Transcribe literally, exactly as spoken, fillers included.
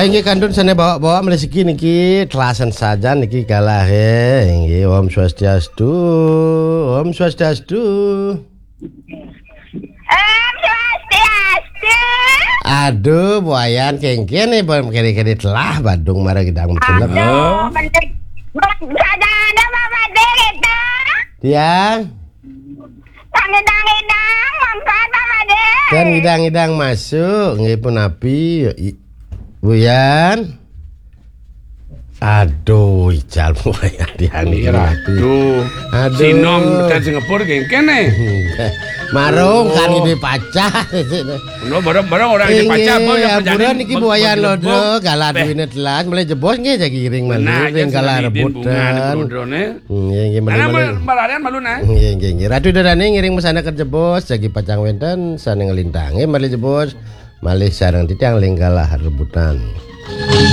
Inggih kantun sané bawa-bawa malih siki niki telasan sajan niki galah, eh. Inggih, Om Swastiastu. Om Swastiastu. Om Swastiastu. Aduh, buayan kéngkén nih, bang kéné-kéné telah badung marang idang betelek. Aduh, bener. Saja ada Pak Made kita. Tiang. Kang idang-idang, mangkat Pak Made. Kan idang-idang masuk, nggih punapi, i-, Buyan. Aduh, ical Buyan tiang niki Iya, punapi. Aduh. Aduh. Sinom tekan Singapura geng kene. Marung kan ini pacah. Lo barang-barang orang ini pacah apa Inggih, yang terjadi? Ampura niki Buayan Lodo, galah duwine telas, mulai jebos nggih jagi iring malih, ring galah rebutan. Nggih, nggih, malih, malih. Malarian malu nah. Nggih, nggih, nggih. Ratu Dadane ngiring mesana ke jebos, jagi pacang wenten, sane ngelintange malih jebos, malih sareng titiang ring galah rebutan.